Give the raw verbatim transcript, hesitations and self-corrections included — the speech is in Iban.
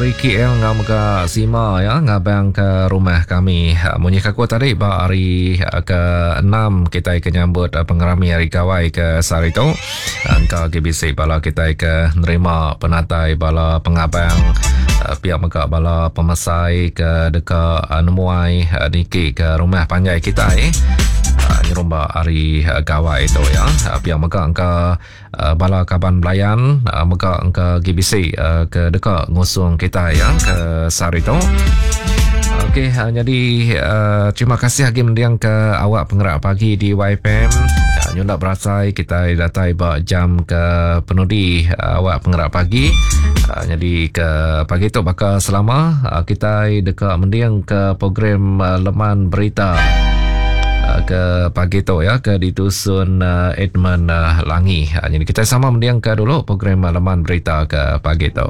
Ricky L ngau mega Sima ya ngabang ke rumah kami. Munyi ke aku tadi ba hari ke enam kita ke nyambut pengerami hari gawai ke sehari tu. Engka agi bisi bala kita ke nerima penatai bala pengabang pihak mega bala pemesai ke deka nemuai niki ke rumah panjai kita eh. Nyerumba hari gawai tu ya. Pihak mega engka bala kaban belayan mega engka agi bisi ke deka ngusung kita ya ke sehari tu. Okey, jadi uh, terima kasih lagi mendiang ke awak penggerak pagi di Y F M. Nyunda berasai kita datai ba jam ke penudi uh, awak penggerak pagi. Uh, jadi ke pagi tu bakal selama uh, kita deka mendiang ke program uh, Leman Berita uh, ke pagi tu ya ke ditusun uh, Edmund uh, Langi. Uh, jadi kita sama mendiang ke dulu program uh, Leman Berita ke pagi tu.